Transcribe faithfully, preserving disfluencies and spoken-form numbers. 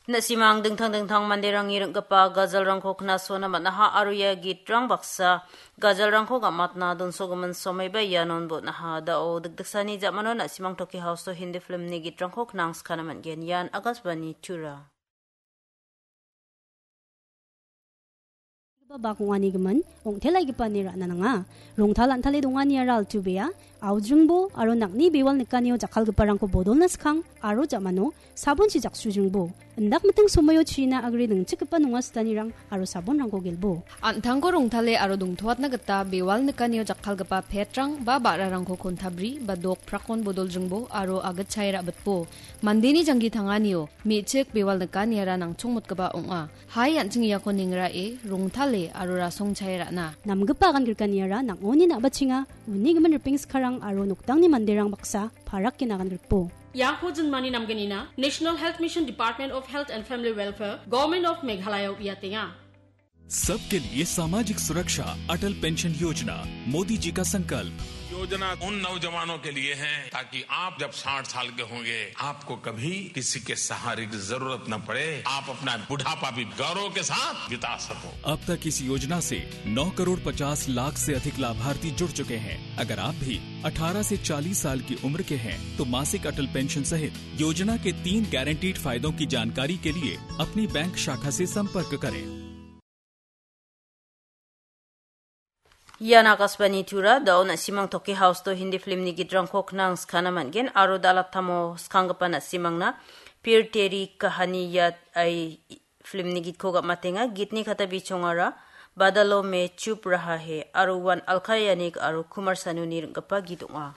Na·simang dingtang dingtang manderangni ring·gipa gajalrangko knasona man·aha aro ia gitrang baksa gajalrangko gam·atna donsogimin somaiba ianon bon·aha. Da·o dikdiksani ja·mano na·simang Toki House-o Hindi filmni gitrangko knangskana man·gen. Ian Akashvani Tura. Bak ong·ani gimin, ong·telaigipani ra·na nanga. Rongtal an·tale donganiara altu bea, aujringbo aro nang·ni bewal nikanio jakkalgiparangko bodolna skang aro ja·mano sabonchi jaksujringbo. Indak miting somoio china agre ningchikgipa nonga sitanirang aro sabonrangko gelbo. An·tangko rongtale aro dongtoatna gita bewal nikanio jakkalgipa petrang ba ba·rarangko kontabri ba dok prakon bodoljringbo aro agitchae ra·bitbo. Mandeni janggi tanganio me·chik bewal nikaniara nangchongmotgipa ong·a. Hai an·ching iako nengrae, rongtale aro rasongchae ra·na. Namgipa agan grikaniara nang·oni na·bachenga, uni gimin ripeng skarang aro noktangni manderang baksa parake nagan grikbo. Iako jinmani namgenina, National Health Mission, Department of Health and Family Welfare, Government of Meghalaya uiatenga. सबके लिए सामाजिक सुरक्षा, अटल पेंशन योजना, मोदी जी का संकल्प। योजना उन नौजवानों के लिए है, ताकि आप जब साठ साल के होंगे, आपको कभी किसी के सहारे की जरूरत न पड़े, आप अपना बुढ़ापा भी गौरव के साथ बिता सको। अब तक इस योजना से नौ करोड़ पचास लाख से अधिक लाभार्थी जुड़ चुके हैं। अगर आप भी अठारह से चालीस साल की उम्र के हैं, तो मासिक अटल पेंशन सहित योजना के तीन गारंटीड फायदों की जानकारी के लिए अपनी बैंक शाखा से संपर्क करें। Ian Akashvani Tura, da·o na·simang Toki House-o Hindi filmni gitrangko knangskana man·gen aro da·alattamo skanggipa na·simangna Phir Teri Kahani Yaad Aaye filmni gitko gam·atenga. Gitni kata bichongara Badalon Mein Chhop Raha Hai aro uan Alka Yagnik aro Kumar Sanuni ring·gipa git ong·a.